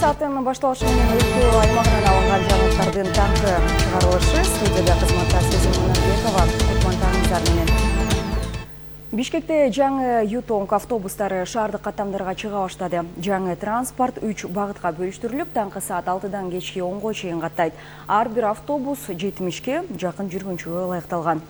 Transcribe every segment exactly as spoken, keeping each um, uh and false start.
саатын башталышы менен өлкө аймагынан алынган жаңылыктардын таңкы чыгарылышы. Студияда кызматта Сезим Мунарбекова, Кутмантаңыздар менен. Бишкекте жаңы Ютонг автобустары шаардык каттамдарга чыга баштады. Жаңы транспорт үч багытка бөлүштүрүлүп, таңкы саат алтыдан кечки онго чейин каттайт. Ар бир автобус жетимишке жакын жүргүнчүгө ылайыкталган.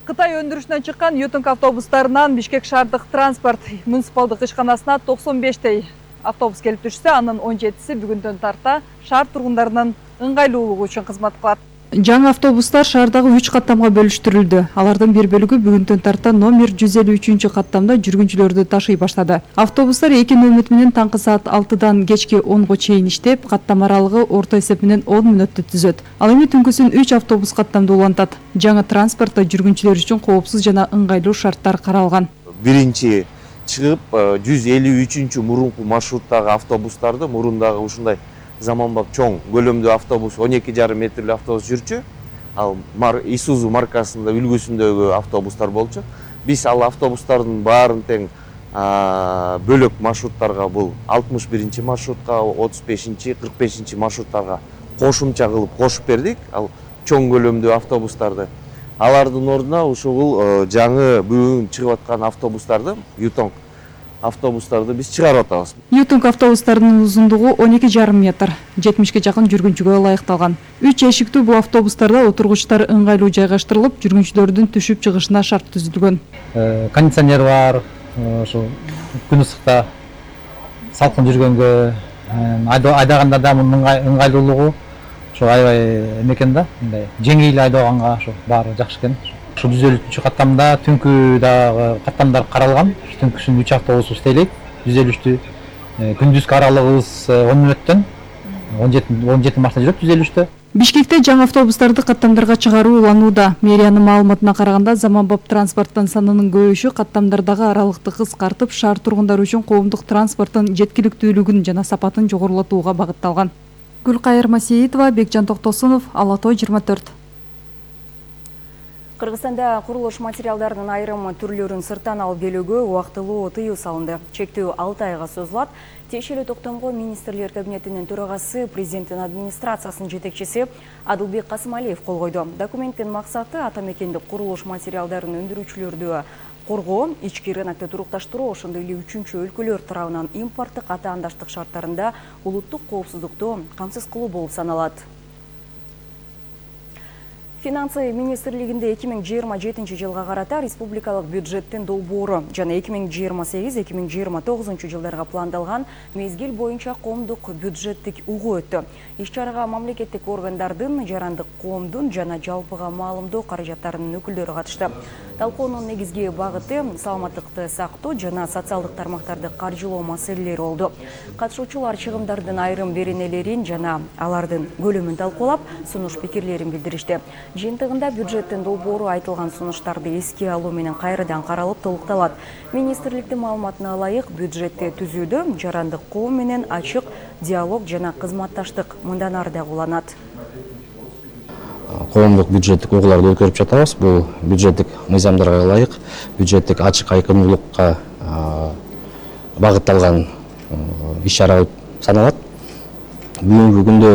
Кытай өндүрүшүнөн чыккан Ютонг автобустарынан Бишкек шаардык транспорт муниципалдык ишканасына токсон бештей автобус келип түшсө, анын он жетиси бүгүндөн тарта шаар тургундарынын ыңгайлуулугу үчүн кызмат кылат. Жаңы автобустар шаардагы үч каттамга бөлүштүрүлдү. Алардын бир бөлүгү бүгүндөн тарта номер жүз элүү үчүнчү каттамда жүргүнчүлөрдү ташый баштады. Автобустар эки нөмөт менен таңкы саат алтыдан кечки онго чейин иштеп, каттам аралыгы орто эсеп менен он мүнөттү түзөт. Ал эми түнкүсүн үч автобус каттамда улантат. Жаңы транспортто жүргүнчүлөр үчүн коопсуз жана ыңгайлуу шарттар каралган. Биринчи чыгып жүз элүү үчүнчү мурунку маршруттагы автобустарды мурундагы ушундай заманбап чоң көлөмдүү автобус он эки жарым метрлүү автобус жүрчү. Ал Isuzu маркасында үлгүсүндөгү автобустар болчу. Биз ал автобустардын баарын тең бөлөк маршруттарга, бул алтымыш биринчи маршрутка, отуз бешинчи, кырк бешинчи маршруттарга кошумча кылып кошуп бердик. Ал чоң көлөмдүү автобустарды. Алардын ордуна ушул жаңы бүгүн чыгып аткан автобустарды, Ютонг автобустарды биз чыгарып атабыз. Ютонг автобустарынын узундугу он эки жарым метр, жетимишке жакын жүргүнчүгө ылайыкталган. үч эшиктүү бул автобустарда отургучтар ыңгайлуу жайгаштырылып, жүргүнчүлөрдүн түшүп чыгышына шарт түзүлгөн. Кондиционер бар, ошо күн ысыкта салкын жүргөнгө, айдаганда да мунун ыңгайлуулугу ошо аябай экен да, мындай жеңил айдаганга ошо баары жакшы экен. Ушул жүз элүү үчүнчү каттамда түнкү дагы каттамдар каралган. Түнкүсүн үч автобус иштейлик, жүз элүү үчтү. Күндүзгү аралыгыбыз он мүнөттөн он жети марта жүрөт жүз элүү үчтө. Бишкекте жаңы автобустарды каттамдарга чыгаруу уланууда. Мэриянын маалыматына караганда, заманбап транспорттун санынын көбөйүшү каттамдардагы аралыкты кыскартып, шаар тургундары үчүн коомдук транспорттун жеткиликтүүлүгүн жана сапатын жогорулатууга багытталган. Гүлкайыр Масеитова, Бекжан Токтосунов, Ала Той жыйырма төрт. Кыргызстанда курулуш материалдарынын айрым түрлөрүн сырттан алып келүүгө убактылуу тыюу салынды. Чектөө алты айга созулат. Тиешелүү токтомго министрлер кабинетинин төрагасы, президенттин администрациясынын жетекчиси Адылбек Касымалиев кол койду. Документтин максаты ата мекендик курулуш материалдарын өндүрүүчүлөрдү коргоо, ички рынокто турукташтыруу, ошондой эле үчүнчү өлкөлөр тарабынан импорттук атаандаштык шарттарында улуттук коопсуздукту камсыз кылуу болуп саналат. Финансы министрлигинде эки миң жыйырма жетинчи жылга карата республикалык бюджеттин долбоору жана эки миң жыйырма сегиз эки миң жыйырма тогузунчу жылдарга пландалган мезгил боюнча коомдук бюджеттик угуу өттү. Иш-чарага мамлекеттик органдардын, жарандык коомдун жана жалпыга маалымдоо каражаттарынын өкүлдөрү катышты. Талкуунун негизги багыты саламаттыкты сактоо жана социалдык тармактарды каржылоо маселелери болду. Катышуучулар чыгымдардын айрым беренелерин жана алардын көлөмүн талкуулап, сунуш пикирлерин билдиришти. Жыйынтыгында бюджеттин долбоору айтылган сунуштарды эске алуу менен кайрадан каралып толукталат. Министрликтин маалыматына ылайык, бюджетти түзүүдө жарандык коом менен ачык диалог жана кызматташтык мындан ары дагы уланат. Коомдук бюджеттик угууларды өткөрүп жатабыз. Бул бюджеттик мыйзамдарга ылайык, бюджеттик ачык айкындуулукка багытталган иш-чара саналат. Бүгүнкү күндө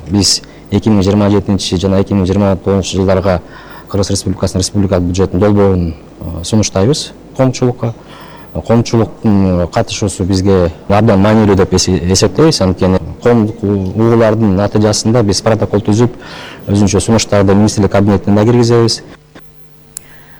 биз эки миң жыйырма жетинчи жана эки миң жыйырма тогузунчу жылдарга Кыргыз Республикасынын республикалык бюджеттин долбоорун сунуштайбыз коомчулукка. Коомчулуктун катышуусу бизге абдан маанилүү деп эсептейбиз. Анткени коомдук угуулардын натыйжасында биз протокол түзүп, өзүнчө сунуштарды министрлик кабинетине киргизебиз.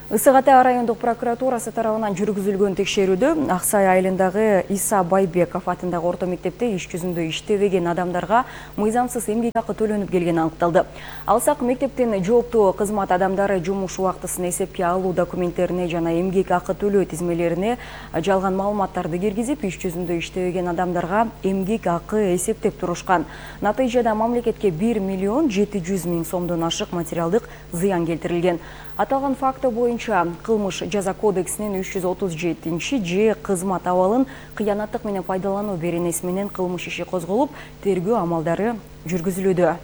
Ысык Ата райондук прокуратурасы тарабынан жүргүзүлгөн текшерүүдө Аксай айылындагы Иса Байбеков атындагы орто мектепте иш жүзүндө иштебеген адамдарга мыйзамсыз эмгек акы төлөнүп келгени аныкталды. Алсак, мектептин жооптуу кызмат адамдары жумуш убактысын эсепке алуу документтерине жана эмгек акы төлөө тизмелерине жалган маалыматтарды киргизип, иш жүзүндө иштебеген адамдарга эмгек акы эсептеп турушкан. Натыйжада мамлекетке бир миллион жети жүз миң сомдон ашык материалдык зыян келтирилген. Аталган факты боюнча кылмыш жаза кодексинин үч жүз отуз жетинчи же кызмат абалын кыянаттык менен пайдалануу беренеси менен кылмыш иши козголуп, тергөө амалдары жүргүзүлүүдө.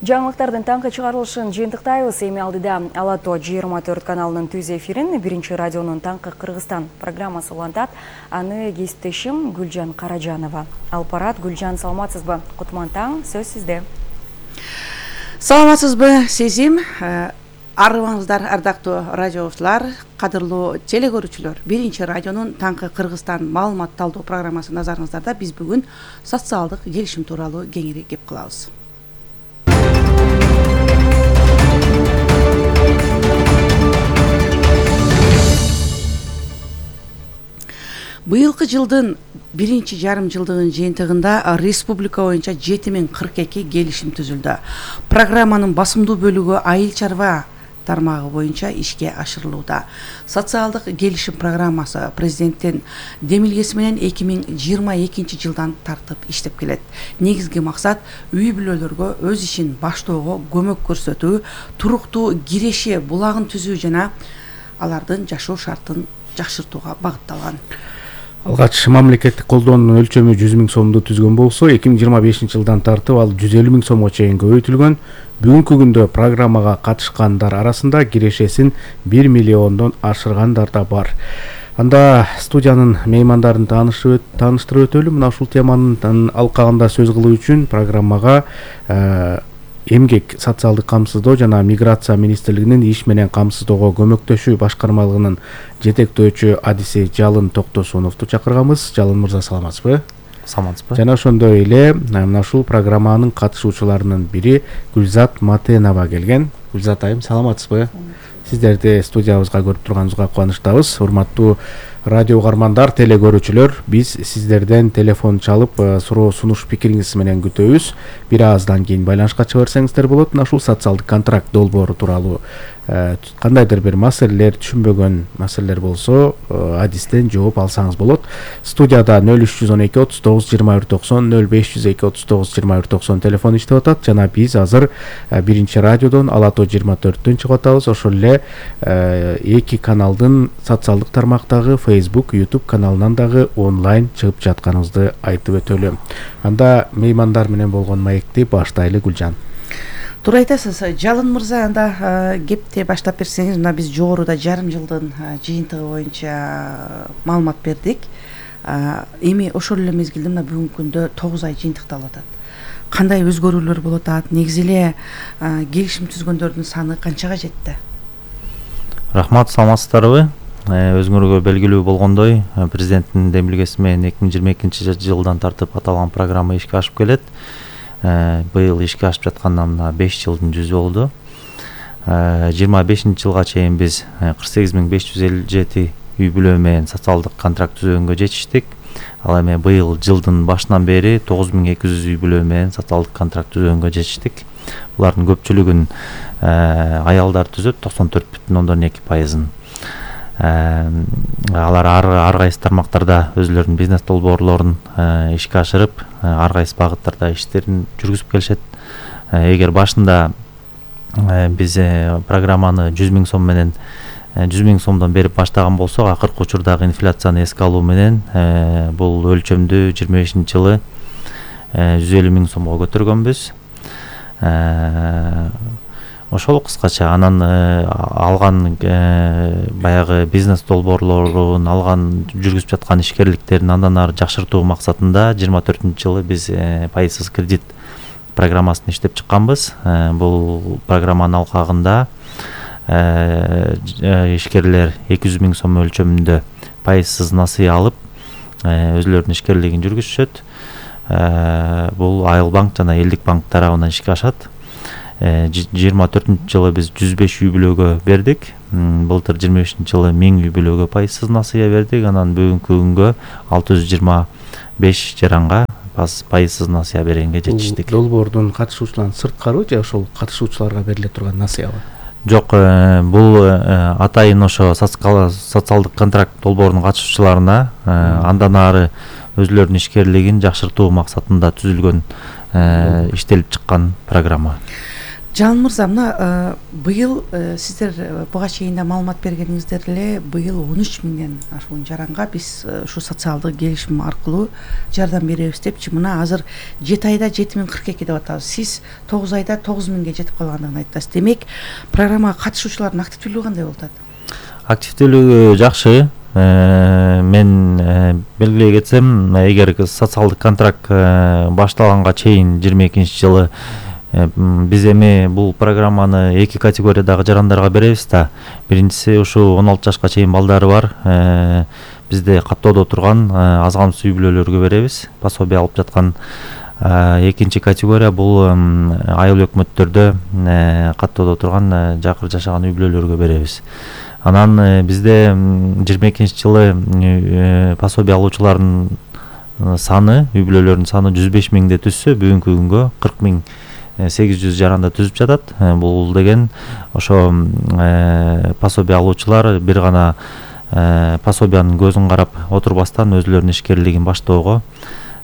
Жаңылыктардын таңкы чыгарылышын жыйынтыктайбыз. Эми алдыда Ала Тоо жыйырма төрт каналынын түз эфирин биринчи радионун Таңкы Кыргызстан программасы улантат. Аны кесиптешим Гүлжан Каражанова алып барат. Гүлжан, саламатсызбы? Кутман таң, сөз сизде. Саламатсызбы, Сезим? Арыбаңыздар, ардактуу радиочулар, кадырлуу телекөрүүчүлөр. Биринчи радионун Таңкы Кыргызстан маалымат талдоо программасы назарыңыздарда. Биз бүгүн социалдык келишим тууралуу кеңири кеп кылабыз. Быйылкы жылдын биринчи жарым жылдыгынын жыйынтыгында республика боюнча жети миң кырк эки келишим түзүлдү. Программанын басымдуу бөлүгү айыл чарба тармагы боюнча ишке ашырылууда. Социалдык келишим программасы президенттин демилгеси менен эки миң жыйырма экинчи жылдан тартып иштеп келет. Негизги максат үй бүлөлөргө өз ишин баштоого көмөк көрсөтүү, туруктуу киреши булагын түзүү жана алардын жашоо шартын жакшыртууга багытталган. Алгач мамлекеттик колдоонун өлчөмү жүз миң сомду түзгөн болсо, эки миң жыйырма бешинчи жылдан тартып ал жүз элүү миң сомго чейин көбөйтүлгөн. Бүгүнкү күндө программага катышкандар арасында кирешесин бир миллиондон ашыргандар да бар. Анда студиянын меймандарын тааныштырып өтөлү. Мына ушул теманын алкагында сөз кылуу үчүн программага эмгек, социалдык камсыздоо жана миграция министрлигинин иш менен камсыздоого көмөктөшүү башкармалыгынын жетектөөчү адиси Жалын Токтосуновду чакырганбыз. Жалын мырза, саламатсызбы? Саламатсызбы? Жана ошондой эле мына ушул программанын катышуучуларынын бири Гүлзат Матенова келген. Гүлзат айым, саламатсызбы? Сиздерди студиябызга көрүп турганыбызга кубанычтабыз. Урматтуу радио угармандар, телекөрүүчүлөр, биз сиздерден телефон чалып суроо сунуш пикириңиз менен күтөбүз. Бир аздан кийин байланышка чыга берсеңиздер болот. Мына ушул социалдык контракт долбоору тууралуу кандайдыр бир маселелер, түшүнбөгөн маселелер болсо, адистен жооп алсаңыз болот. Студияда нөл үч жүз он эки отуз тогуз жыйырма бир токсон, нөл беш жүз эки отуз тогуз жыйырма бир токсон телефон иштеп атат. Жана биз азыр биринчи радиодон Ала Тоо жыйырма төрттөн чыгып атабыз. Ошол эле эки каналдын социалдык тармактагы Facebook, YouTube каналынан дагы онлайн чыгып жатканыбызды айтып өтөлү. Анда меймандар менен болгон маекти баштайлы, Гүлжан. Туура айтасыз. Жалын мырза, анда кепти баштап берсеңиз. Мына биз жогоруда жарым жылдын жыйынтыгы боюнча маалымат бердик. Эми ошол эле мезгилде мына бүгүнкү күндө тогуз ай жыйынтыкталып атат. Кандай өзгөрүүлөр болуп атат? Негизи эле келишим түзгөндөрдүн саны канчага жетти? Рахмат, саламатсыздарбы? Өзүңөргө белгилүү болгондой, президенттин демилгеси менен эки миң жыйырма экинчи жылдан тартып аталган программа ишке ашып келет. Быйыл ишке ашып жатканда мына беш жылдын жүзү болду. жыйырма бешинчи жылга чейин биз кырк сегиз миң беш жүз элүү жети үй бүлө менен социалдык контракт түзгөнгө жетиштик. Ал эми быйыл жылдын башынан бери тогуз миң эки жүз үй бүлө менен социалдык контракт түзгөнгө жетиштик. Булардын көпчүлүгүн аялдар түзөт, токсон төрт бүтүн ондон эки пайызын. Алар ар кайсы тармактарда өзлөрүнүн бизнес долбоорлорун ишке ашырып, ар кайсы багыттарда иштерин жүргүзүп келишет. Эгер башында биз программаны жүз миң сом менен жүз миң сомдон берип баштаган болсок, акыркы учурдагы инфляцияны эске алуу менен бул өлчөмдү жыйырма бешинчи жылы жүз элүү миң сомго көтөргөнбүз. Ошол кыскача. Анан алган баягы бизнес долбоорлорун алган, жүргүзүп жаткан ишкерликтерин андан ары жакшыртуу максатында жыйырма төртүнчү жылы биз пайызсыз кредит программасын иштеп чыкканбыз. Бул программанын алкагында ишкерлер эки жүз миң сом өлчөмүндө пайызсыз насыя алып өзлөрүнүн ишкерлигин жүргүзүшөт. Бул Айыл банк жана Элдик банк тарабынан ишке ашат. жыйырма төртүнчү жылы биз жүз беш үй бүлөгө бердик. Былтыр жыйырма бешинчи жылы миң үй бүлөгө пайызсыз насыя бердик. Анан бүгүнкү күнгө алты жүз жыйырма беш жаранга пайызсыз насыя бергенге жетиштик. Долбоордун катышуучуларынын сырткары же ошол катышуучуларга бериле турган насыябы? Жок, бул атайын ошо социалдык контракт долбоорунун катышуучуларына андан ары өзлөрүнүн ишкерлигин жакшыртуу максатында түзүлгөн, иштелип чыккан программа. Жалын мырза, мына быйыл сиздер буга чейин да маалымат бергениңиздер эле, быйыл он үч миңден ашуун жаранга биз ушу социалдык келишим аркылуу жардам беребиз депчи. Мына азыр жети айда жети миң кырк эки деп атабыз. Сиз тогуз айда тогуз миңге жетип калгандыгын айттыңыз. Демек, программага катышуучулардын активдүүлүгү кандай болуп атат? Активдүүлүгү жакшы. Мен белгилей кетсем, эгер социалдык контракт башталганга чейин жыйырма экинчи жылы биз эми бул программаны эки категориядагы жарандарга беребиз да. Биринчиси ушу он алты жашка чейин балдары бар, бизде каттоодо турган аз камсыз үй бүлөлөргө беребиз, пособие алып жаткан. Экинчи категория бул айыл өкмөттөрдө каттоодо турган жакыр жашаган үй бүлөлөргө беребиз. Анан бизде жыйырма экинчи жылы пособие алуучулардын саны, үй бүлөлөрдүн саны жүз беш миңди түзсө, бүгүнкү күнгө кырк миң сегиз жүз жаранда түзүп жатат. Бул деген ошо пособие алуучулар бир гана пособиянын көзүн карап отурбастан өзүлөрүнүн ишкерлигин баштоого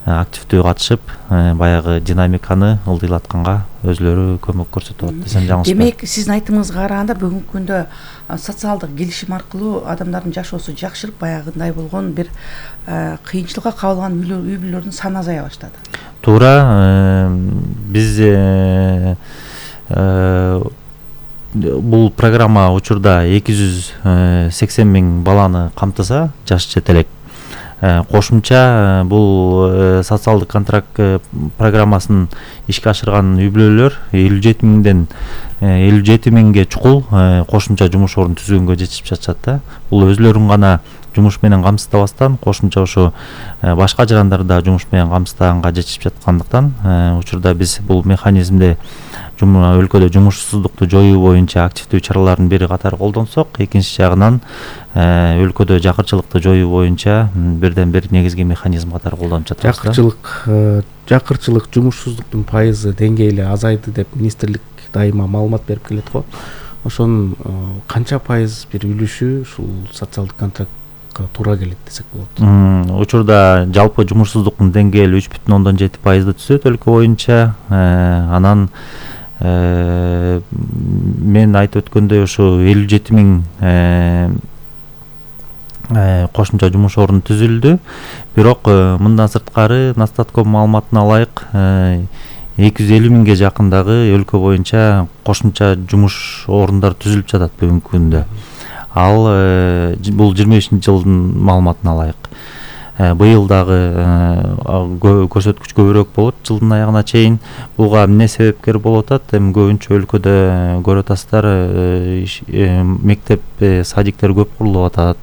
активдүү катышып, баягы динамиканы ылдыйлатканга өзүлөрү көмөк көрсөтүп атат десем жаңылышпайм. Демек, сиздин айтымыңызга караганда бүгүнкү күндө социалдык келишим аркылуу адамдардын жашоосу жакшырып, баягындай болгон бир кыйынчылыкка кабылган үй бүлөлөрдүн саны азая баштады. Туура, биз бул программа учурда эки жүз сексен миң баланы камтыса, жаш жетелек. Кошумча бул социалдык контракт программасын ишке ашырган үй бүлөлөр элүү жети миңден элүү жети миңге чукул кошумча жумуш орун түзгөнгө жетишип жатышат да. Бул өзүлөрүн гана жумуш менен камсыздабастан, кошумча ошо башка жарандар да жумуш менен камсыздаганга жетишип жаткандыктан, учурда биз бул механизмди өлкөдө жумушсуздукту жоюу боюнча активдүү чаралардын бири катары колдонсок, экинчи жагынан өлкөдө жакырчылыкты жоюу боюнча бирден бир негизги механизм катары колдонуп жатабыз. Жакырчылык, жакырчылык, жумушсуздуктун пайызы деңгээли азайды деп министрлик дайыма маалымат берип келет го. Ошонун канча пайыз бир үлүшү ушул социалдык контрактка туура келет десек болот? Учурда жалпы жумушсуздуктун деңгээли үч бүтүн ондон жети пайызды түзөт өлкө боюнча. Анан мен айтып өткөндөй ушу элүү жети миң кошумча жумуш орун түзүлдү. Бирок мындан сырткары Настатком маалыматына ылайык эки жүз элүү миңге жакындагы өлкө боюнча кошумча жумуш орундар түзүлүп жатат бүгүнкү күндө. Ал бул жыйырма бешинчи жылдын маалыматына ылайык. Быйыл дагы көрсөткүч көбүрөөк болот жылдын аягына чейин. Буга эмне себепкер болуп атат? Эми көбүнчө өлкөдө көрүп атасыздар, мектеп, садиктер көп курулуп атат.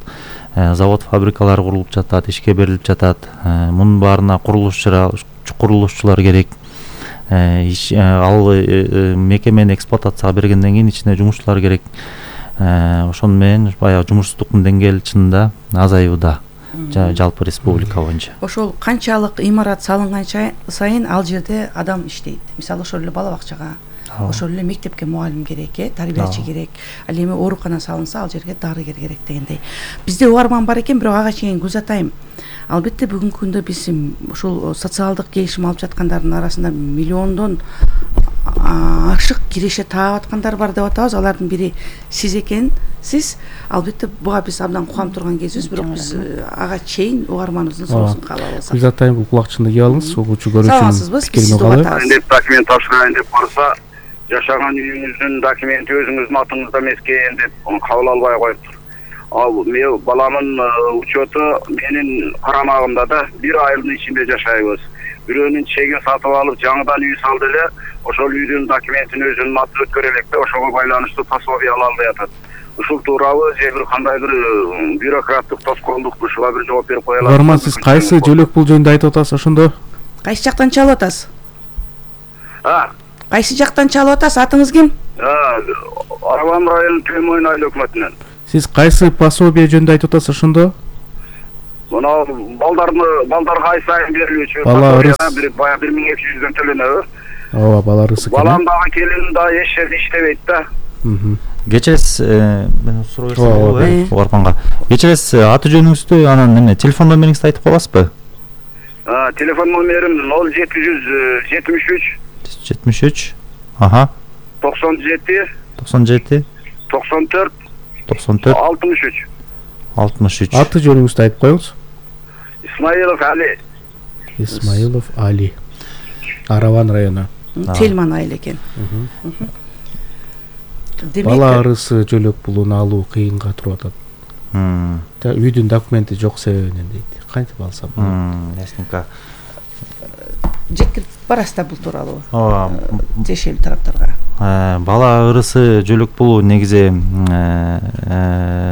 Завод, фабрикалар курулуп жатат, ишке берилип жатат. Мунун баарына курулушчулар керек. Ал мекемени эксплуатацияга бергенден кийин ичине жумушчулар керек. Ошону менен баягы жумушсуздуктун деңгээли чынында азаюуда жалпы республика боюнча. Ошол канчалык имарат салынган сайын ал жерде адам иштейт. Мисалы ошол эле бала бакчага, ошол эле мектепке мугалим керек, э, тарбиячы керек. Ал эми оорукана салынса, ал жерге дарыгер керек дегендей. Бизде угарман бар экен, бирок ага чейин көз атайм. Албетте бүгүнкү күндө биз ушул социалдык келишим алып жаткандардын арасында миллиондон ашык киреше таап аткандар бар деп атабыз. Алардын бири сиз экенсиз. Албетте буга биз абдан кубанып турган кезибиз, бирок биз ага чейин угарманыбыздын соосун каалап алсак. Биз атайын бул кулакчынды кийип алыңыз, угуучу көрүүчү. Саламатсызбы? Биз сизди угатабыз. Деп документ тапшырайын деп барса, жашаган үйүңүздүн документи өзүңүздүн атыңызда эмес экен деп кабыл албай коюптур. Ал мен баламын учету менин карамагымда да бир айылдын ичинде жашайбыз. Бирөөнүн чегин сатып алып жаңыдан үй салды эле, ошол үйдүн документин өзүнүн атына өткөрө элек да, ошого байланыштуу пособие ала албай атат. Ушул туурабы же бир кандайдыр бюрократтык тоскоолдукту ушуга бир жооп берип кое аласызбы? Норман, сиз кайсы жөлөк бул жөнүндө айтып атасыз ошондо? Кайсы жактан чалып атасыз? А? Кайсы жактан чалып атасыз? Атыңыз ким? Арабам районунун Төмөн айыл өкмөтүнөн. Сиз кайсы пособие жөнүндө айтып атасыз ошондо? Мына балдарны балдарга ай сайын берилүүчү бир бая бир миң эки жүздөн төлөнөбү. Ооба, балар ысык. Балам дагы келин да эч жерде иштебейт да. Кечиресиз, мен суроо берсем болобу, Угарманга. Кечиресиз, аты жөнүңүздү, анан эмне, телефон номериңизди айтып коесузбу? Телефон номерим ноль жети жүз жетимиш үч жетимиш үч. Аха. токсон жети токсон жети токсон төрт токсон төрт алтымыш үч алтымыш үч. аты жөнүңүздү айтып коюңуз. Исмаилов Али. Исмаилов Али. Араван району. Тельман айыл экен. Бала арысы жөлөк пулун алуу кыйынга туруп атат. Үйдүн документи жок себебинен дейт. Кантип алсам? Ясненько. Жеткирип барасызда бул тууралуу. Ооба. Тиешелүү тараптарга. Бала ырысы жөлөк пулу негизи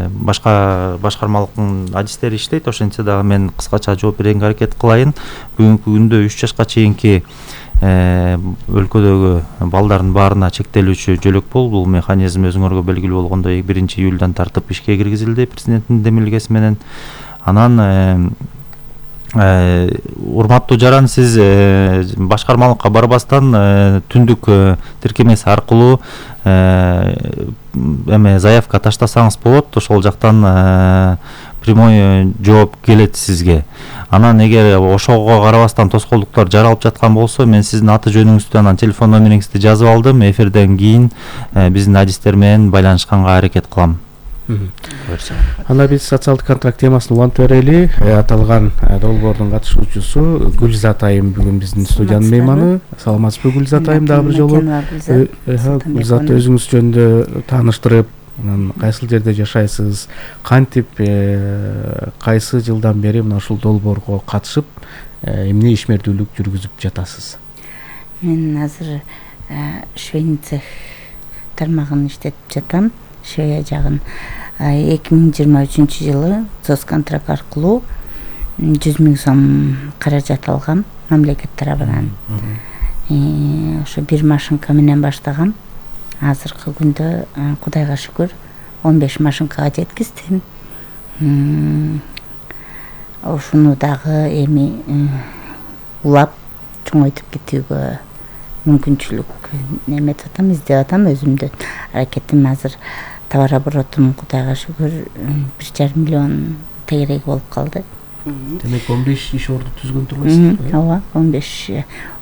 башка башкармалыктын адистери иштейт. Ошентсе дагы мен кыскача жооп берүүгө аракет кылайын. Бүгүнкү күндө үч жашка чейинки өлкөдөгү балдардын баарына чектелүүчү жөлөк пул, бул механизм өзүңөргө белгилүү болгондой биринчи июлдан тартып ишке киргизилди президенттин демилгеси менен. Анан урматтуу жаран, сиз башкармалыкка барбастан түндүк тиркемеси аркылуу эме заявка таштасаңыз болот. Ошол жактан прямой жооп келет сизге. Анан эгер ошого карабастан тоскоолдуктар жаралып жаткан болсо, мен сиздин аты жөнүңүздү, анан телефон номериңизди жазып алдым. Эфирден кийин биздин адистер менен байланышканга аракет кылам. Анда биз социалдык контракт темасын улантып берели. Аталган долбоордун катышуучусу Гүлзат айым бүгүн биздин студиянын мейманы. Саламатсызбы Гүлзат айым? Дагы бир жолу Гүлзат өзүңүз жөнүндө тааныштырып, анан кайсыл жерде жашайсыз, кантип кайсы жылдан бери мына ушул долбоорго катышып эмне ишмердүүлүк жүргүзүп жатасыз? Мен азыр швейный цех тармагын иштетип жатам. Швея жагын эки миң жыйырма үчүнчү жылы соцконтракт аркылуу жүз миң сом каражат алгам мамлекет тарабынан. Ошо бир машинка менен баштагам. Азыркы күндө Кудайга шүгүр он беш машинкага жеткиздим. Ошону дагы эми улап чоңойтуп кетүүгө мүмкүнчүлүк неметип атам, издеп атам. Өзүмдүн аракетим азыр товар оборотум Кудайга шүгүр бир жарым миллион тегерек болуп калды. Демек он беш иш орду түзгөн турбайсызбы? Ооба, он беш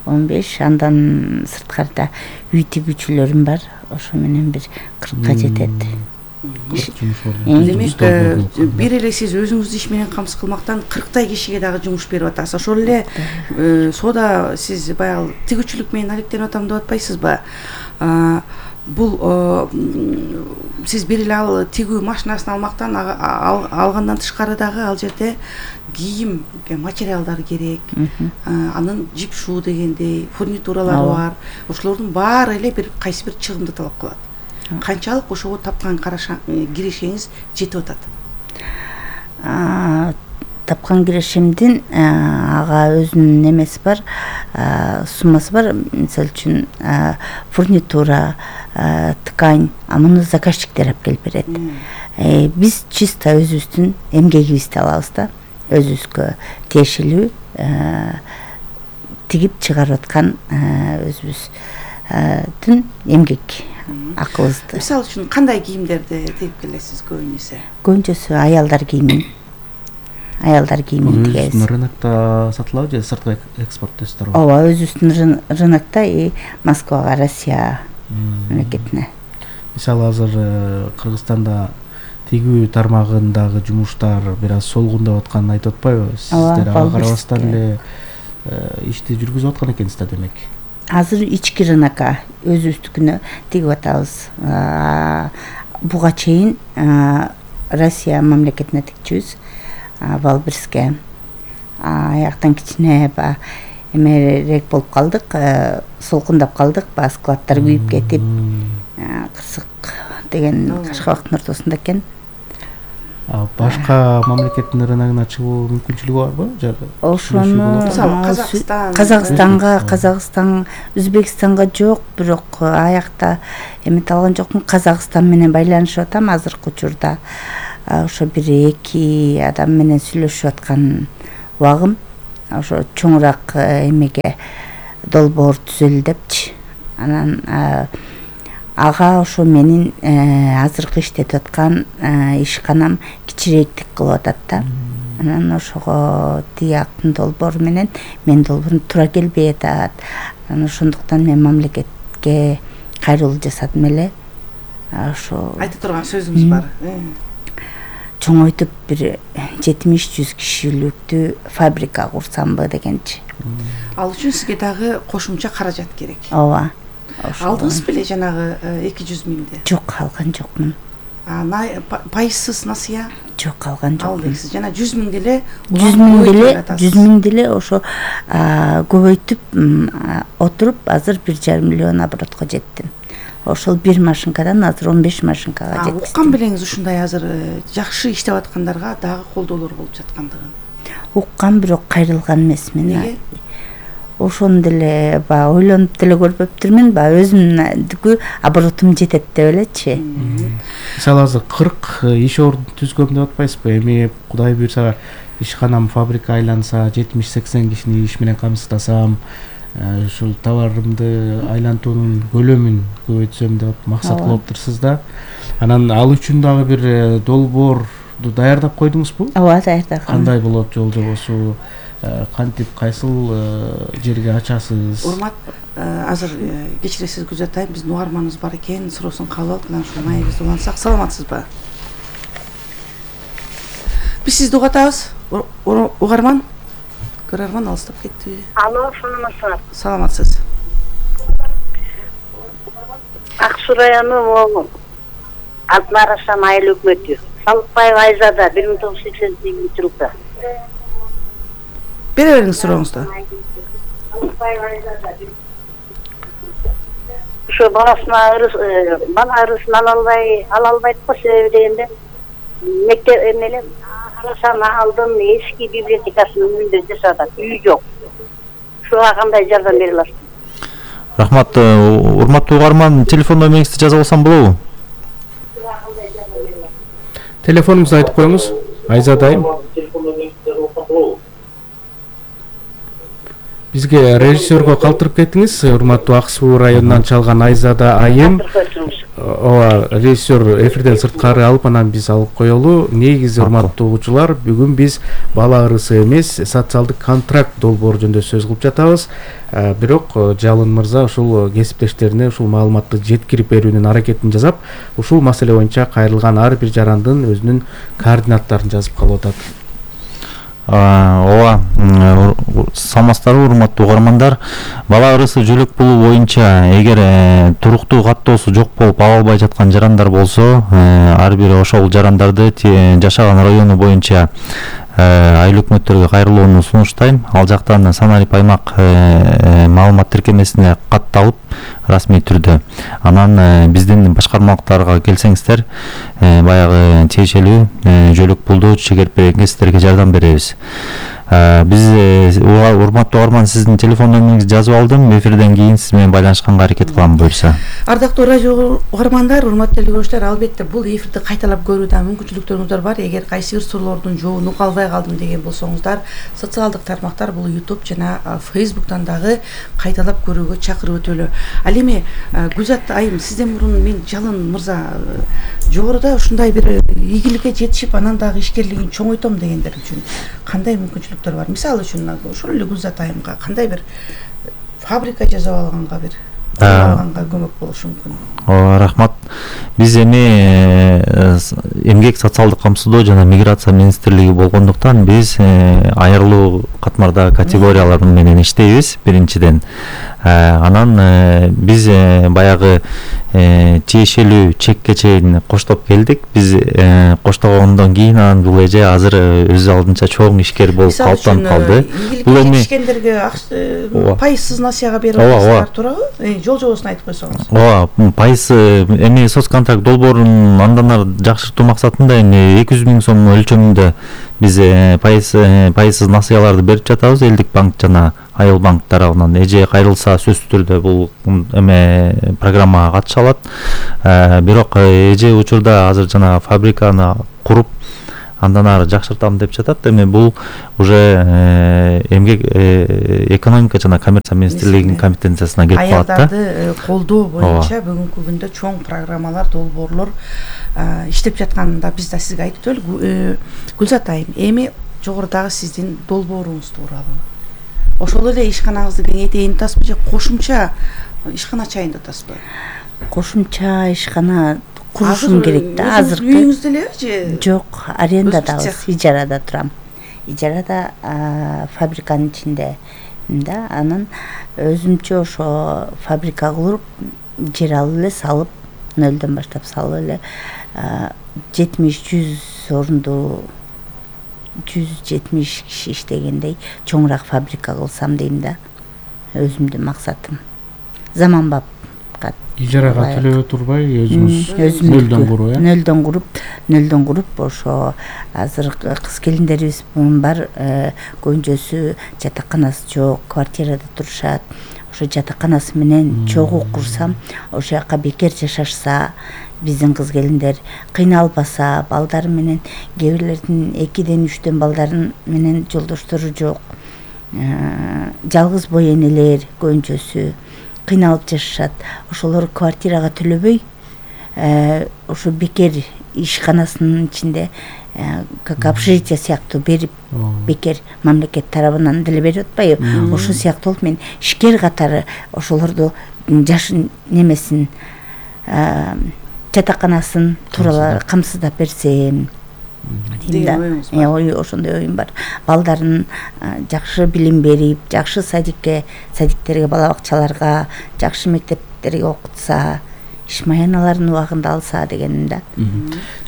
он беш андан сырткарда үй тигүүчүлөрүм бар. Ошо менен бир кыркка жетет. Демек бир эле сиз өзүңүздү иш менен камсыз кылмактан кырктай кишиге дагы жумуш берип атасыз. Ошол эле соода сиз баягы тигүүчүлүк менен алектенип атам деп атпайсызбы? Бул сиз бир эле ал тигүү машинасын алмактан алгандан тышкары дагы ал жерде кийим материалдар керек, анын жипшуу дегендей фурнитуралары бар. Ошолордун баары эле бир кайсы бир чыгымды талап кылат. Канчалык ошого тапкан кирешеңиз жетип атат? Тапкан кирешимдин ага өзүнүн немеси бар, суммасы бар. Мисалы үчүн фурнитура, ткань, муну заказчиктер алып келип берет. Биз чисто өзүбүздүн эмгегибизди алабыз да. Өзүбүзгө тиешелүү тигип чыгарып аткан өзүбүздүн эмгек акыбызды. Мисалы үчүн кандай кийимдерди тигип келесиз көбүнесе? Көбүнчөсү аялдар кийимин. Аялдар кийимин тигебиз. Өзүбүздүн рынокто сатылабы же сыртка экспорттойсуздар? Ооба, өзүбүздүн рынокто и Москвага, Россия мамлекетине. Мисалы азыр Кыргызстанда тигүү тармагындагы жумуштар бир аз солгундап атканын айтып атпайбы? Сиздер ага карабастан эле ишти жүргүзүп аткан экенсиздер демек. Азыр ички рынокко өзүбүздүкүнө тигип атабыз. Буга чейин Россия мамлекетине тикчүбүз. Валбирске. Аяктан кичине эмерээк болуп калдык, солкундап калдык, складдар күйүп кетип, Кырсык деген Кашкабактын ортосунда экен. Башка мамлекеттин рыногуна чыгуу мүмкүнчүлүгү барбы? Ошону Казакстан, Казакстанга, Казакстан, Өзбекстанга жок, бирок аякта эмете алган жокмун. Казакстан менен байланышып атам азыркы учурда. Ошо бир эки адам менен сүйлөшүп аткан убагым. Ошо чоңураак эмеге долбоор түзөлү депчи. Анан ага ошо менин азыркы иштетип аткан ишканам кичирээктик кылып атат да. Анан ошого тияктын долбоору менен мен долбоорум туура келбей атат. Анан ошондуктан мен мамлекетке кайрылуу жасадым эле. Ошо айта турган сөзүңүз бар. Чоңойтуп бир жетимиш жүз кишиликтүү фабрика курсамбы дегенчи. Ал үчүн сизге дагы кошумча каражат керек. Ооба. Алдыңыз беле жанагы эки жүз миңди? Жок, алган жокмун. А пайызсыз насыя? Жок, алган жокмун. Алдыңыз жана жүз миң деле жүз миң деле жүз миң деле ошо көбөйтүп отуруп азыр бир жарым миллион оборотко жеттим. Ошол бир машинкадан азыр он беш машинкага жетти. Уккан белеңиз ушундай азыр жакшы иштеп аткандарга дагы колдоолор болуп жаткандыгын? Уккан, бирок кайрылган эмесмин. Неге? Ошону деле баягы ойлонуп деле көрбөптүрмүн, баягы өзүмдүкү оборотум жетет деп элечи. Мисалы азыр кырк иш ордун түзгөм деп атпайсызбы? Эми Кудай буйрса ишканам фабрика айланса, жетимиш сексен кишини иш менен камсыздасам, ушул товарымды айлантуунун көлөмүн көбөйтсөм деп максат кылыптырсыз да. Анан ал үчүн дагы бир долбоорду даярдап койдуңузбу? Ооба, даярдагам. Кандай болот жол жобосу? Кантип кайсыл жерге ачасыз? Урмат, азыр кечиресиз Гүлзат айым, биздин угарманыбыз бар экен, суроосун кабыл алып, анан ушул маегибизди улантсак, саламатсызбы? Биз сизди угатабыз, угарман. Көрөрман алыстап кетти. Алло, саламатсызбы? Саламатсыз. Ак Суу району Атмарашан айыл өкмөтү. Салыкбаева Айзада бир миң тогуз жүз сексен сегизинчи жылда. Бере бериңиз сурооңузду. Ошо баласына бала ырысын ала албай, ала албайт го, себеби дегенде мектеп эмеле Арашаны алдым, эски библиотекасын үйүндө жашадат, үй жок. Ушуга кандай жардам бере аласыз? Рахмат, урматтуу угарман, телефон номериңизди жазып алсам болобу? Телефонуңузду айтып коюңуз, Айзада айым. Бизге режиссерго калтырып кеттиңиз, урматтуу Ак Суу районунан чалган Айзада айым. Ооба, режиссер эфирден сырткары алып, анан биз алып коелу. Негизи урматтуу угуучулар, бүгүн биз бала ырысы эмес, социалдык контракт долбоору жөнүндө сөз кылып жатабыз. Бирок Жалын мырза ушул кесиптештерине ушул маалыматты жеткирип берүүнүн аракетин жасап, ушул маселе боюнча кайрылган ар бир жарандын өзүнүн координаттарын жазып калып атат. Ооба, саламатсыздарбы урматтуу угармандар. Бала ырысы жөлөк пулу боюнча эгер туруктуу каттоосу жок болуп ала албай жаткан жарандар болсо, ар бир ошол жарандарды жашаган району боюнча айыл өкмөттөргө кайрылууну сунуштайм. Ал жактан саналип аймак маалымат тиркемесине катталып расмий түрдө. Анан биздин башкармалыктарга келсеңиздер, баягы тиешелүү жөлөк пулду чегерип бергенсиздерге жардам беребиз. Биз урматтуу угарман, сиздин телефон номериңизди жазып алдым. Эфирден кийин сиз менен байланышканга аракет кылам буюрса. Ардактуу радио угармандар, урматтуу көрүүчүлөр, албетте бул эфирди кайталап көрүүгө мүмкүнчүлүктөрүңүз бар. Эгер кайсы бир суроолордун жообун уга албай калдым деген болсоңуздар, социалдык тармактар, бул YouTube жана Facebooktан дагы кайталап көрүүгө чакырып өтөлү. Ал эми Гүлзат айым, сизден мурун мен Жалын мырза жогоруда ушундай бир ийгиликке жетишип, анан дагы ишкерлигин чоңойтом дегендер үчүн кандай мүмкүнчүлүктөр бар? Мисалы үчүн ошол эле Гүлзат айымга кандай бир фабрика жасап алганга, бир алганга көмөк болушу мүмкүн? Ооба, рахмат. Биз эми эмгек социалдык камсыздоо жана миграция министрлиги болгондуктан биз айырылуу катмардагы категориялар менен иштейбиз биринчиден. Анан биз баягы тиешелүү чекке чейин коштоп келдик. Биз коштогондон кийин анан бул эже азыр өз алдынча чоң ишкер болуп калыптанып калды. Бул эми ишкендерге пайызсыз насыяга берип атасыздар туурабы? Жол жобосун айтып койсоңуз. Ооба, пайыз эми соцконтракт долбоорун андан ары жакшыртуу максатында эми эки жүз миң сом өлчөмүндө биз пайыз пайызсыз насыяларды берип жатабыз. Элдик банк жана айыл банк тарабынан. Эже кайрылса сөзсүз түрдө бул эме программага катыша алат. Бирок эже учурда азыр жана фабриканы куруп андан ары жакшыртам деп жатат. Эми бул уже эмгек экономика жана коммерция министрлигинин компетенциясына кирип калат да. Аялдарды колдоо боюнча бүгүнкү күндө чоң программалар, долбоорлор иштеп жатканында биз да сизге айтып өтөлү. Гүлзат айым, эми жогорудагы сиздин долбооруңуз тууралуу. Ошол эле ишканаңызды кеңейтейин деп атасызбы же кошумча ишкана ачайын деп атасызбы? кошумча ишкана курушум керек да. Азыркы үйүңүздө элеби же? Жок, арендадабыз, ижарада турам. Ижарада фабриканын ичинде да, анан өзүмчө ошо фабрика куруп, жер алып эле салып, нөлдөн баштап салып эле жетимиш жүз орунду жүз жетимиш киши иштегендей чоңураак фабрика кылсам дейм да. Өзүмдүн максатым. Заманбап ижарага төлөбөй турбай өзүңүз нөлдөн куруп, э? Нөлдөн куруп, нөлдөн куруп ошо азыр кыз келиндерибиз бар, көбүнчөсү жатаканасы жок, квартирада турушат. Ошо жатаканасы менен чогуу курсам, ошол жака бекер жашашса, биздин кыз келиндер кыйналбаса, балдары менен кээ бирлердин экиден үчтөн балдарын менен жолдоштору жок. Жалгыз бой энелер көбүнчөсү кыйналып жашашат. Ошолор квартирага төлөбөй, ошо бекер ишканасынын ичинде как общежитие сыяктуу берип, бекер мамлекет тарабынан деле берип атпайбы? Ошо сыяктуу болуп мен ишкер катары ошолорду жаш немесин жатаканасын тууралуу камсыздап берсем дейм да. Ой, ошондой оюм бар. Балдарын жакшы билим берип, жакшы садикке, садиктерге, бала бакчаларга, жакшы мектептерге окутса, ишмаяналарын убагында алса дегеним да.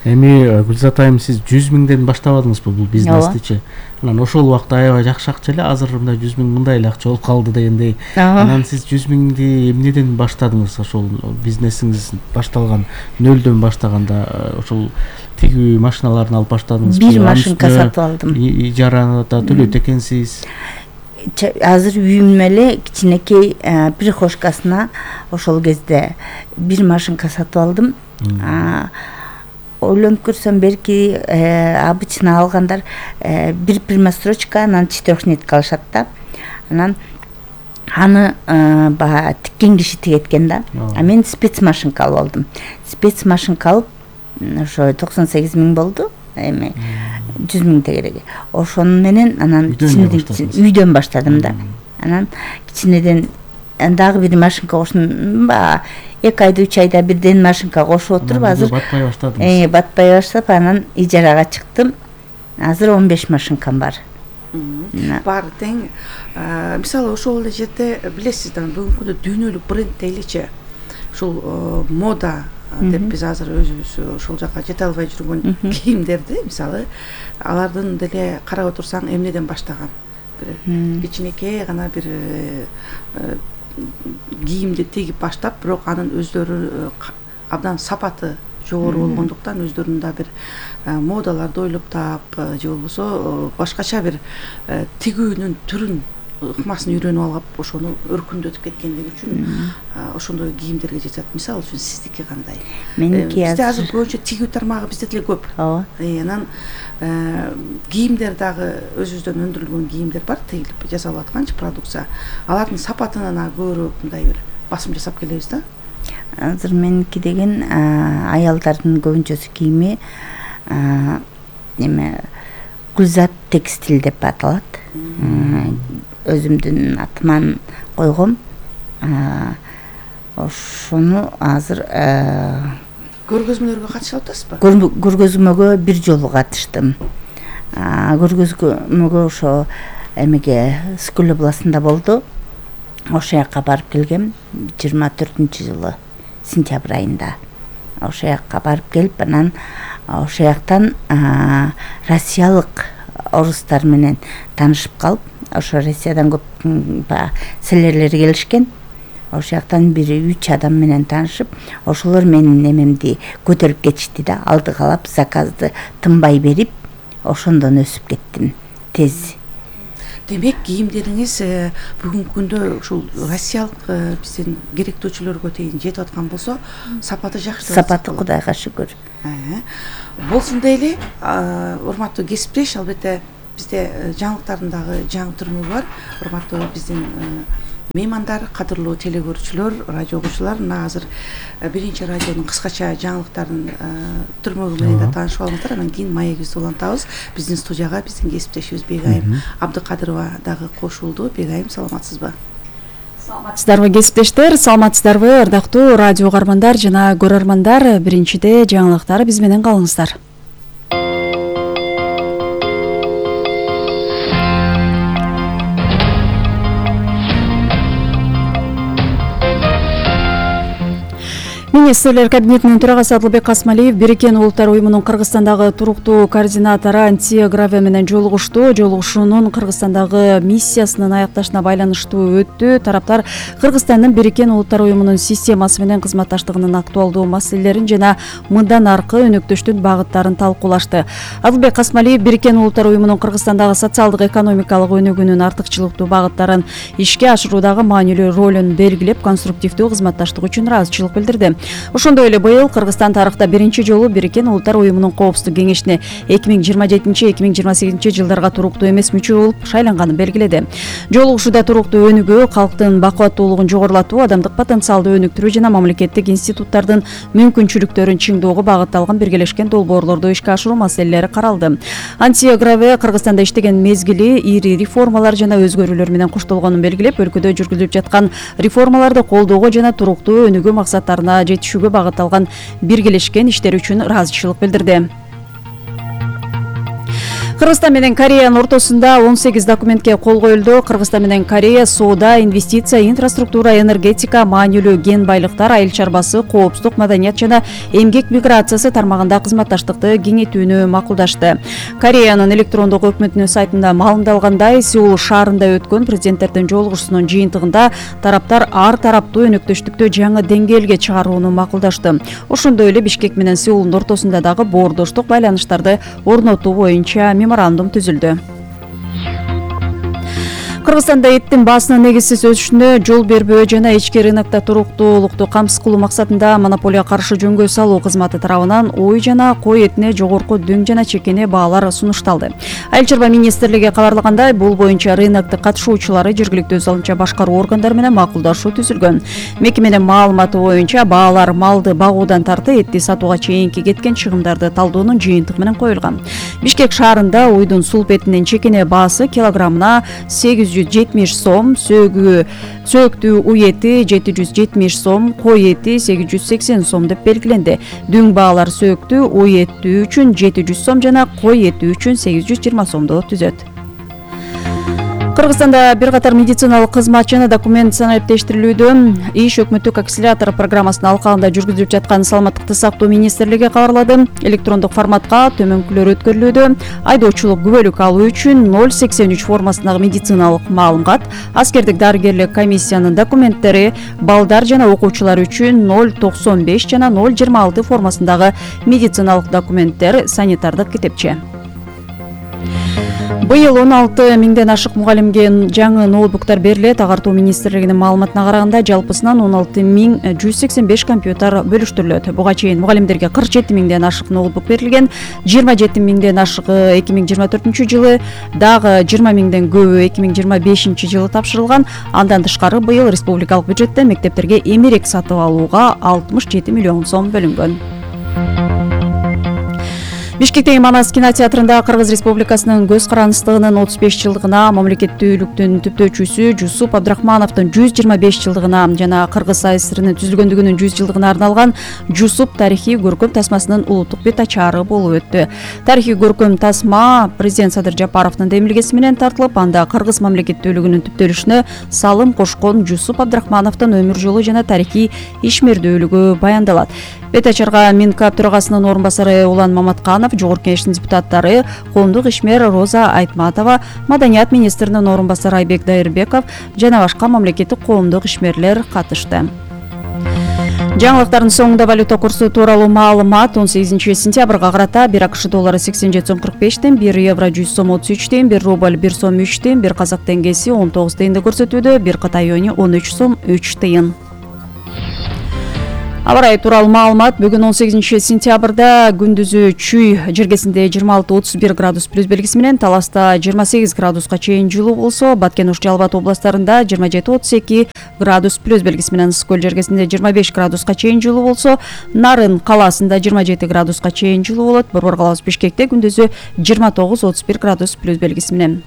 Эми Гүлзат айым, сиз жүз миңден баштабадыңызбы бул бизнестичи? Анан ошол убакта аябай жакшы акча эле, азыр мындай жүз миң мындай эле акча болуп калды дегендей. Анан сиз жүз миңди эмнеден баштадыңыз? Ошол бизнесиңиз башталган нөлдөн баштаганда ошол тигүү машиналарын алып баштадыңызбы? Бир машинка сатып алдым. Ижарада төлөйт экенсиз. Азыр үйүм эле кичинекей прихожкасына ошол кезде бир машинка сатып алдым. Ойлонуп көрсөм, берки обычно алгандар бир прямострочка, анан четырехнитка алышат да. Анан аны баягы тиккен киши тигеткен да. А мен спецмашинка алып алдым. Спецмашинка алып, ошо токсон сегиз миң болду. Эми жүз миң тегереги. Ошону менен анан үйдөн баштадым да. Анан кичинеден дагы бир машинка коштум. эки айда, үч айда бирден машинка кошуп отуруп, азыр батпай баштадым. Э, батпай баштап, анан ижарага чыктым. Азыр он беш машинкам бар. Бар тең. Мисалы ошол эле жерде билесиз да, бүгүнкү күндө дүйнөлүк бренд дейличи. Ушул мода деп биз азыр өзүбүз ошол жака жете албай жүргөн кийимдерди, мисалы, алардын деле карап отурсаң эмнеден баштаган? Бир кичинекей гана бир кийимди тигип баштап, бирок анын өздөрү абдан сапаты жогору болгондуктан өздөрүнүн да бир модаларды ойлоп таап, же болбосо башкача бир тигүүнүн түрүн, ыкмасын үйрөнүп алып, ошону өркүндөтүп кеткендиги үчүн ошондой кийимдерге жетет. Мисалы үчүн сиздики кандай? Меники бизде азыр көбүнчө тигүү тармагы бизде деле көп. Ооба. Анан кийимдер дагы өзүбүздөн өндүрүлгөн кийимдер бар, тигилип жасалып атканчы продукция. Алардын сапатына көбүрөөк мындай бир басым жасап келебиз да. Азыр меники деген аялдардын көбүнчөсү кийими эме Гүлзат текстиль деп аталат. Өзүмдүн атыман койгом. Ошону азыр көргөзмөлөргө катышып атасызбы? Көргөзмөгө бир жолу катыштым. Көргөзмөгө ошо эмеге Скөл областында болду. Ошол жака барып келгем жыйырма төртүнчү жылы сентябрь айында. Ошол жака барып келип, анан ошол жактан россиялык орустар менен таанышып калып, ошо Россиядан көп селерлер келишкен. Ошол жактан бир үч адам менен таанышып, ошолор менин эмемди көтөрүп кетишти да, алдыгалап заказды тынбай берип, ошондон өсүп кеттим тез. Демек, кийимдериңиз бүгүнкү күндө ушул россиялык биздин керектөөчүлөргө чейин жетип аткан болсо, сапаты жакшы. Сапаты Кудайга шүгүр. Болсун дейли, урматтуу кесиптеш, албетте бизде жаңылыктардын дагы жаңы түрмөгү бар. Урматтуу биздин меймандар, кадырлуу телекөрүүчүлөр, радио угуучулар, мына азыр биринчи радионун кыскача жаңылыктардын түрмөгү менен да таанышып алыңыздар. Анан кийин маегибизди улантабыз. Биздин студияга биздин кесиптешибиз Бегайым Абдыкадырова дагы кошулду. Бегайым, саламатсызбы? Саламатсыздарбы кесиптештер, саламатсыздарбы ырдактуу радио угармандар жана көрөрмандар. Биринчиде жаңылыктар, биз менен калыңыздар. Министрлер кабинетинин төрагасы Адылбек Касмалиев Бириккен Улуттар уюмунун Кыргызстандагы туруктуу координатору Антия Граве менен жолугушту. Жолугушуунун Кыргызстандагы миссиясынын аякташына байланыштуу өттү. Тараптар Кыргызстандын Бириккен Улуттар уюмунун системасы менен кызматташтыгынын актуалдуу маселелерин жана мындан аркы өнөктөштүн багыттарын талкуулашты. Адылбек Касмалиев Бириккен Улуттар уюмунун Кыргызстандагы социалдык экономикалык өнүгүүнүн артыкчылыктуу багыттарын ишке ашыруудагы маанилүү ролун белгилеп, конструктивдүү кызматташтык үчүн ыраазычылык билдирди. Ошондой эле быйыл Кыргызстан тарыхта биринчи жолу Бириккен Улуттар уюмунун коопсуздук кеңешине эки миң жыйырма жетинчи эки миң жыйырма сегизинчи жылдарга туруктуу эмес мүчө болуп шайланганын белгиледи. Жолугушууда туруктуу өнүгүү, калктын бакубаттуулугун жогорулатуу, адамдык потенциалды өнүктүрүү жана мамлекеттик институттардын мүмкүнчүлүктөрүн чыңдоого багытталган биргелешкен долбоорлорду ишке ашыруу маселелери каралды. Антия Граве Кыргызстанда иштеген мезгили ири реформалар жана өзгөрүүлөр менен коштолгонун белгилеп, өлкөдө жүргүзүлүп жаткан реформаларды колдоого жана туруктуу өнүгүү максаттарына жетишүүгө багытталган биргелешкен иштер үчүн ыраазычылык билдирди. Кыргызстан менен Кореянын ортосунда он сегиз документке кол коюлду. Кыргызстан менен Корея соода, инвестиция, инфраструктура, энергетика, маанилүү кен байлыктар, айыл чарбасы, коопсуздук, маданият жана эмгек миграциясы тармагында кызматташтыкты кеңейтүүнү макулдашты. Кореянын электрондук өкмөтүнүн сайтында маалымдалгандай, Сеул шаарында өткөн президенттердин жолугушуусунун жыйынтыгында тараптар ар тараптуу өнөктөштүктү жаңы деңгээлге чыгарууну макулдашты. Ошондой эле Бишкек менен Сеулдун ортосунда дагы боордоштук байланыштарды орнотуу боюнча меморандум түзүлдү. Кыргызстанда эттин баасынын негизсиз өсүшүнө жол бербөө жана ички рынокто туруктуулукту камсыз кылуу максатында монополияга каршы жөнгө салуу кызматы тарабынан ой жана кой этине жогорку дөң жана чекене баалар сунушталды. Айыл чарба министрлиги кабарлагандай, бул боюнча рынокту катышуучулары жергиликтүү өз алынча башкаруу органдары менен макулдашуу түзүлгөн. Мекеменин маалыматы боюнча баалар малды багуудан тарты этти сатууга чейинки кеткен чыгымдарды талдоонун жыйынтыгы менен коюлган. Бишкек шаарында уйдун сулп этинин чекене баасы килограммына сегиз жүз жетимиш сом, сөөгү сөөктүү уй эти жети жүз жетимиш сом, кой эти сегиз жүз сексен сом деп белгиленди. Дүң баалар сөөктүү уй эти үчүн жети жүз сом жана кой эти үчүн сегиз жүз жыйырма сомду түзөт. Кыргызстанда бир катар медициналык кызмат жана документ санариптештирилүүдө. Иш өкмөттүк акселератор программасынын алкагында жүргүзүлүп жаткан саламаттыкты сактоо министрлиги кабарлады. Электрондук форматка төмөнкүлөр өткөрүлүүдө. Айдоочулук күбөлүк алуу үчүн ноль сексен үч формасындагы медициналык маалымат, аскердик дарыгерлик комиссиянын документтери, балдар жана окуучулар үчүн ноль токсон беш жана ноль жыйырма алты формасындагы медициналык документтер, санитардык китепче. Быйыл он алты миңден ашык мугалимге жаңы ноутбуктар берилет. Агартуу министрлигинин маалыматына караганда, жалпысынан он алты миң жүз сексен беш компьютер бөлүштүрүлөт. Буга чейин мугалимдерге кырк жети миңден ашык ноутбук берилген. жыйырма жети миңден ашыгы эки миң жыйырма төртүнчү жылы, дагы жыйырма миңден көбү эки миң жыйырма бешинчи жылы тапшырылган. Андан тышкары быйыл республикалык бюджеттен мектептерге эмерек сатып алууга алтымыш жети миллион сом бөлүнгөн. Бишкектеги Манас кинотеатрында Кыргыз Республикасынын көз карандысындыгынын отуз беш жылдыгына, мамлекеттүүлүктүн түптөөчүсү Жусуп Абдрахмановдун жүз жыйырма беш жылдыгына жана Кыргыз АСРнын түзүлгөндүгүнүн жүз жылдыгына арналган Жусуп тарыхый көркөм тасмасынын улуттук бет ачаары болуп өттү. Тарыхый көркөм тасма президент Садыр Жапаровдун демилгеси менен тартылып, анда Кыргыз мамлекеттүүлүгүнүн түптөлүшүнө салым кошкон Жусуп Абдрахмановдун өмүр жолу жана тарыхый ишмердүүлүгү баяндалат. Бет ачарга Минкап төрагасынын орун басары Улан Маматканов, Жогорку Кеңештин депутаттары коомдук ишмер Роза Айтматова, Маданият министринин орун басары Айбек Дайырбеков жана башка мамлекеттик коомдук ишмерлер катышты. Жаңылыктардын соңунда валюта курсу тууралуу маалымат. он сегизинчи сентябрга карата бир АКШ доллары сексен жети сом кырк беш тен, бир евро жүз сом отуз үч тен, бир рубль бир сом үч тен, бир казак тенгеси он тогуз тыйынды көрсөтүүдө, бир кытай юани он үч сом үч тыйын. Аба ырайы тууралуу маалымат. Бүгүн он сегизинчи сентябрда күндүзү Чүй жергесинде жыйырма алты отуз бир градус плюс белгиси менен, Таласта жыйырма сегиз градуска чейин жылуу болсо, Баткен, Ош, Жалал Абад областарында жыйырма жети отуз эки градус плюс белгиси менен, Ысык көл жергесинде жыйырма беш градуска чейин жылуу болсо, Нарын калаасында жыйырма жети градуска чейин жылуу болот. Борбор калабыз Бишкекте күндүзү жыйырма тогуз отуз бир градус плюс белгиси менен.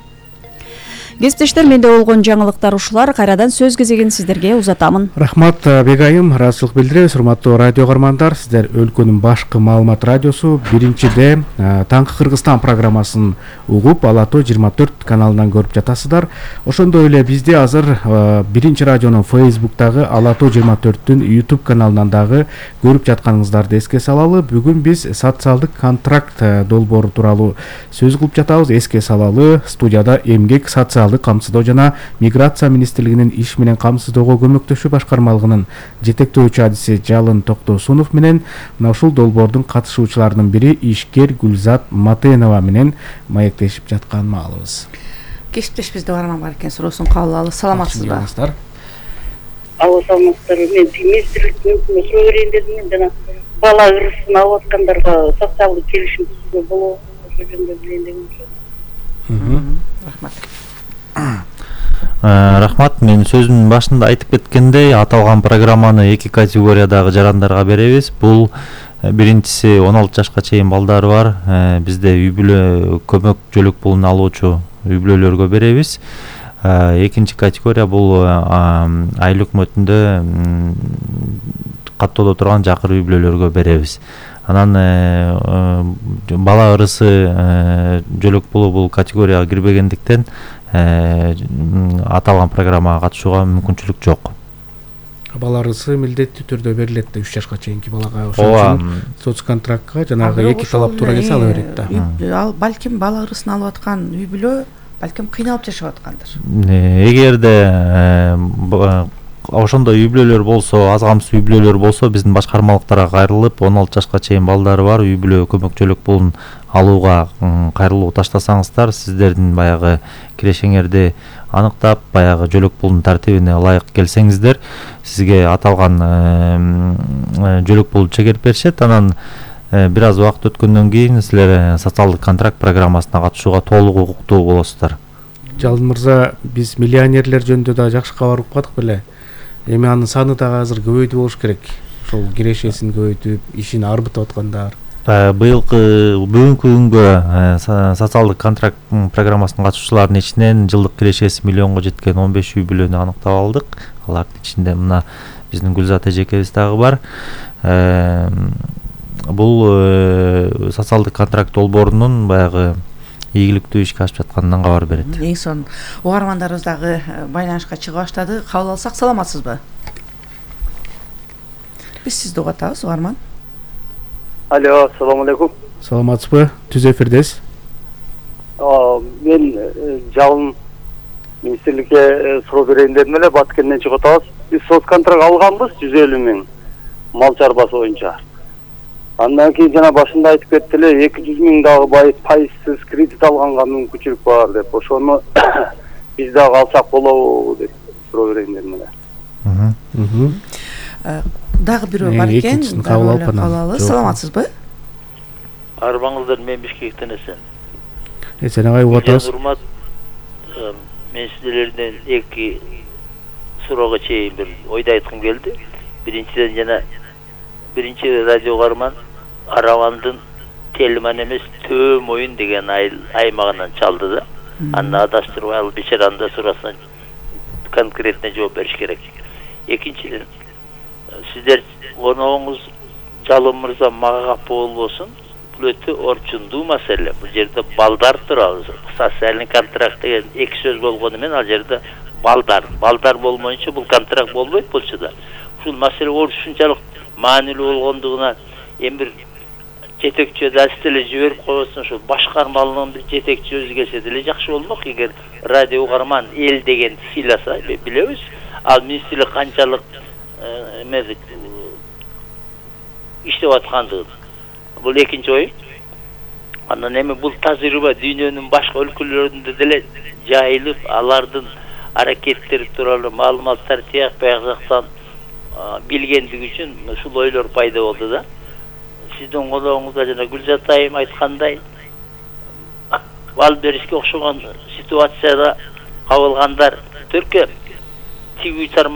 Кесиптештер, менде болгон жаңылыктар ушулар. Кайрадан сөз кезегин сиздерге узатамын. Рахмат Бегайым, ыраазычылык билдиребиз. Урматтуу радио каармандар, сиздер өлкөнүн башкы маалымат радиосу биринчиде Таңкы Кыргызстан программасын угуп, Ала Тоо жыйырма төрт каналынан көрүп жатасыздар. Ошондой эле бизде азыр биринчи радионун Facebook'тагы Ала Тоо жыйырма төрттүн YouTube каналынан дагы көрүп жатканыңыздарды эске салалы. Бүгүн биз социалдык контракт долбоору тууралуу сөз кылып жатабыз. Эске салалы, студияда эмгек, социалдык камсыздоо жана миграция министрлигинин иш менен камсыздоого көмөктөшүү башкармалыгынын жетектөөчү адиси Жалын Токтосунов менен мына ушул долбоордун катышуучуларынын бири ишкер Гүлзат Матенова менен маектешип жатканын маалыбыз. Кесиптеш бизде барман бар экен, суроосун кабыл алалы. Саламатсызбы? Ала саламатсыздар. Мен министрликтен суроо берейин дедим. Жана бала ырысын алып аткандарга социалдык келишим түзүүгө болобу? Ошо жөнүндө билейин дегем. Рахмат. Рахмат. Мен сөзүмдүн башында айтып кеткендей, аталган программаны эки категориядагы жарандарга беребиз. Бул биринчиси он алты жашка чейин балдары бар. Бизде үй бүлө көмөк жөлөк пулун алуучу үй бүлөлөргө беребиз. Экинчи категория бул айыл өкмөтүндө каттоодо турган жакыр үй бүлөлөргө беребиз. Анан бала ырысы жөлөк пулу бул категорияга кирбегендиктен аталган программага катышууга мүмкүнчүлүк жок. Бала ырысы милдеттүү түрдө берилет да үч жашка чейинки балага. Ошон үчүн соцконтрактка жанагы эки талап туура келсе ала берет да. Ал балким бала ырысын алып аткан үй бүлө балким кыйналып жашап аткандыр. Эгерде ошондой үй бүлөлөр болсо, аз камсыз үй бүлөлөр болсо, биздин башкармалыктарга кайрылып, он алты жашка чейин балдары бар үй бүлө көмөк жөлөк пулун алууга кайрылуу таштасаңыздар, сиздердин баягы кирешеңерди аныктап, баягы жөлөк пулдун тартибине ылайык келсеңиздер, сизге аталган жөлөк пулду чегерип беришет. Анан бир аз убакыт өткөндөн кийин силер социалдык контракт программасына катышууга толук укуктуу болосуздар. Жалын мырза, биз миллионерлер жөнүндө да жакшы кабар укпадык беле? Эми анын саны дагы азыр көбөйдү болуш керек. Ошол кирешесин көбөйтүп, ишин арбытып аткандар. Быйылкы бүгүнкү күнгө социалдык контракт программасынын катышуучуларынын ичинен жылдык кирешеси миллионго жеткен он беш үй бүлөнү аныктап алдык. Алардын ичинде мына биздин Гүлзат эжекебиз дагы бар. Бул социалдык контракт долбоорунун баягы ийгиликтүү ишке ашып жатканынан кабар берет. Эң son угармандарыбыз дагы байланышка чыга баштады. Кабыл алсак, саламатсызбы? Биз сизди угатабыз, угарман. Алло, assalomu alaykum. Саламатсызбы? Түз эфирдесиз. Мен Жалын министрликке суроо берейин дедим эле, Баткенден чыгып атабыз. Биз соцконтракт алганбыз жүз элүү миң мал чарбасы боюнча. Андан кийин жана башында айтып кетти эле, эки жүз миң дагы пайызсыз кредит алганга мүмкүнчүлүк бар деп. Ошону биз дагы алсак болобу деп суроо берейин дедим эле. Дагы бирөө бар экен. Алалы. Саламатсызбы? Арбаңыздар, мен Бишкектен эсен. Эсен агай угатабыз. Урмат, мен сиздерден эки суроого чейин бир ойду айткым келди. Биринчиден жана биринчи радио каарман Аравандын Телман эмес Төө Моюн деген аймагынан чалды да. Аны адаштырбай ал бечаранын да суроосуна конкретно жооп бериш керек. Экинчиден, сиздер коногуңуз Жалын мырза мага капа болбосун, бул өтө орчундуу маселе. Бул жерде балдар туралы социальный контракт деген эки сөз болгону менен ал жерде балдар, балдар болмоюнча бул контракт болбойт болчу да. Ушул маселе ушунчалык маанилүү болгондугуна эми бир жетекчи дасты эле жиберип койбосун, ошо башкармалыгынын бир жетекчи өзү келсе деле жакшы болмок. Эгер радио угарман эл деген сыйласа, билебиз. Ал министрлик канчалык эмеди иштеп аткандыгын. Бул экинчи ой. Андан эми бул тажрыйба дүйнөнүн башка өлкөлөрүндө деле жайылып, алардын аракеттери тууралуу маалыматтар тияк бияк жактан билгендиги үчүн ушул ойлор пайда болду да. Сиздин колоңузда жана Гүлзат айым айткандай, бал беришке окшогон ситуацияда кабылгандар төркөм тигүү тармак